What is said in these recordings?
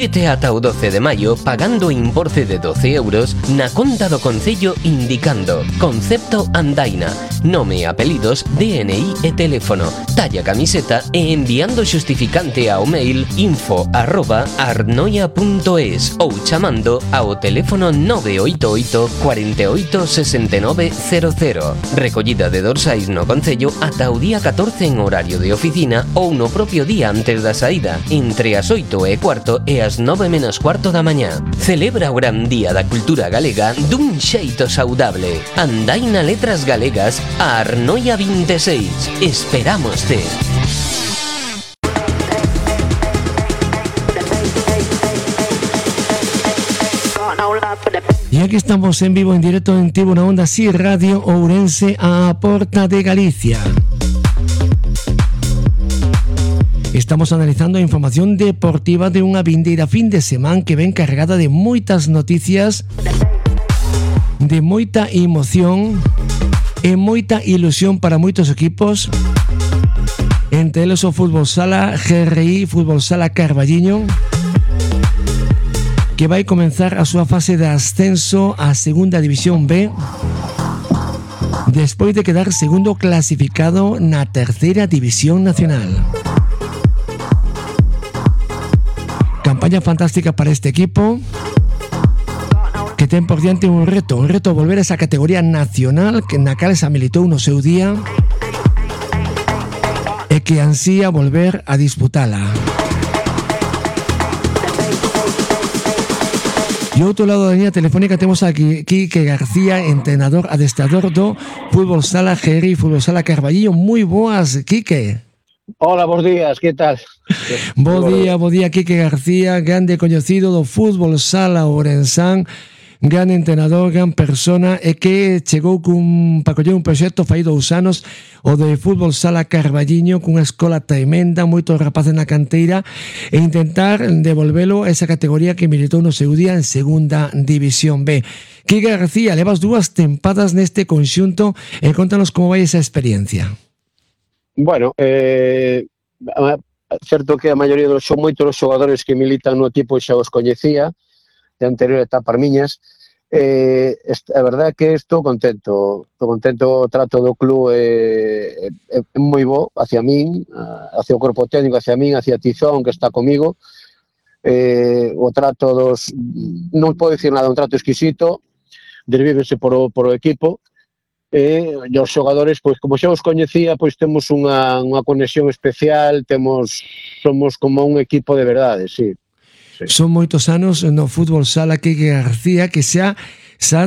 Vete ata o 12 de maio pagando importe de 12 euros na conta do Concello indicando concepto Andaina, nome e apelidos, DNI e teléfono, talla camiseta e enviando xustificante ao mail info@arnoia.es ou chamando ao teléfono 988 48 69 00. Recollida de dorsais no Concello ata o día 14 en horario de oficina ou no propio día antes da saída, entre as 8:15 e as 9:15 da mañá. Celebra o gran día da cultura galega dun xeito saudable. Andaina Letras Galegas a Arnoia 26. Esperámoste. Y aquí estamos en vivo, en directo en Tribuna Onda Si Radio Ourense a Porta de Galicia. Estamos analizando a información deportiva de unha vindeira fin de semana que ven cargada de moitas noticias, de moita emoción e moita ilusión para moitos equipos, entre eles o Fútbol Sala GRI, Fútbol Sala Carballiño, que vai comenzar a súa fase de ascenso á Segunda División B despois de quedar segundo clasificado na Terceira División Nacional. Campaña fantástica para este equipo que ten por diante un reto volver a esa categoría nacional que na cal se militou no seu día e que ansía volver a disputala. E outro lado da liña telefónica temos aquí Quique García, entrenador adestrador do Fútbol Sala GRI, Fútbol Sala Carballiño. Moi boas, Quique. Hola, bons días, que tal? Bo día, Quique García, grande coñecido do Fútbol Sala Ourensán, gran entrenador, gran persona, e que chegou para coller un proxecto fai 2 anos, o de Fútbol Sala Carballiño, cunha escola tremenda, moitos rapaces na canteira, e intentar devolvelo a esa categoría que militou no seu día en Segunda División B. Quique García, levas 2 tempadas neste conxunto, e contanos como vai esa experiencia. Bueno, certo que a maioría son moitos os xogadores que militan no equipo xa os coñecía de anterior etapa miñas. A verdade é que estou contento, o trato do club é moi bo hacia min, hacia o corpo técnico, hacia min, hacia Tizón que está comigo. O trato non podo dicir nada, un trato exquisito, desvívense por o equipo. E os xogadores, pois como xa os coñecía, pois temos unha conexión especial, somos como un equipo de verdade, sí. Son moitos anos no Fútbol Sala Quique García, que xa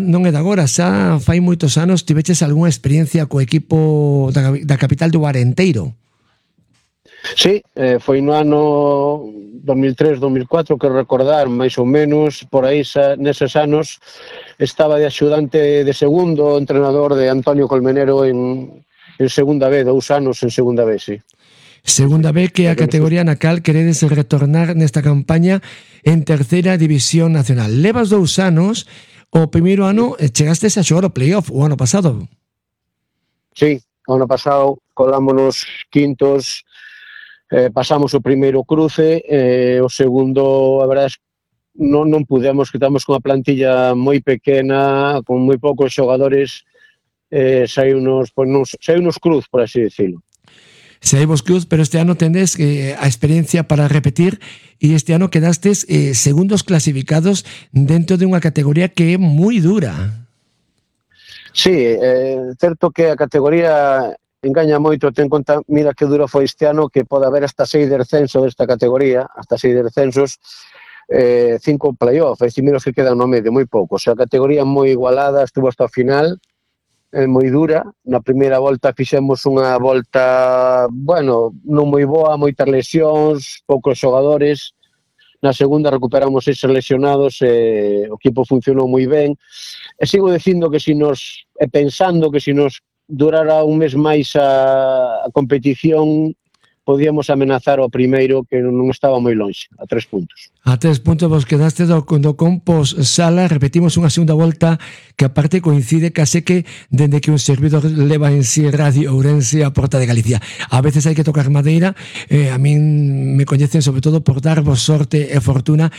non é de agora, xa fai moitos anos tiveches algunha experiencia co equipo da capital do Arenteiro. Sí, foi no ano 2003-2004, que recordar, máis ou menos, por aí neses anos estaba de axudante de segundo entrenador de Antonio Colmenero en Segunda B, 2 anos en Segunda B, sí. Segunda B, que é a categoría na cal queredes retornar nesta campaña en Terceira División Nacional. Levas 2 anos, o primeiro ano chegastes a xogar o playoff o ano pasado. Sí, o ano pasado colámonos quintos, pasamos o primeiro cruce, o segundo, a verdade, non pudemos, que estamos con a plantilla moi pequena, con moi poucos xogadores, saiunos cruz, por así decirlo. Saímos cruz, pero este ano tendes a experiencia para repetir e este ano quedastes segundos clasificados dentro de unha categoría que é moi dura. Sí, certo que a categoría engaña moito, ten conta, mira que duro foi este ano, que pode haber hasta 6 descensos desta categoría, hasta 6 descensos, 5 playoff, e menos que quedan no medio, moi pouco. O sea, a categoría moi igualada, estuvo hasta o final, moi dura. Na primeira volta fixemos unha volta, bueno, non moi boa, moitas lesións, poucos xogadores. Na segunda recuperamos 6 lesionados, o equipo funcionou moi ben. E sigo dicindo que pensando que se nos durara un mes máis a competición, podíamos amenazar o primeiro, que non estaba moi lonxe, a 3 puntos. A 3 puntos vos quedaste do Compos Sala. Repetimos unha segunda volta que aparte coincide case que dende que un servidor leva en si Radio Ourense a Porta de Galicia. A veces hai que tocar madeira, a min me coñecen sobre todo por darvos sorte e fortuna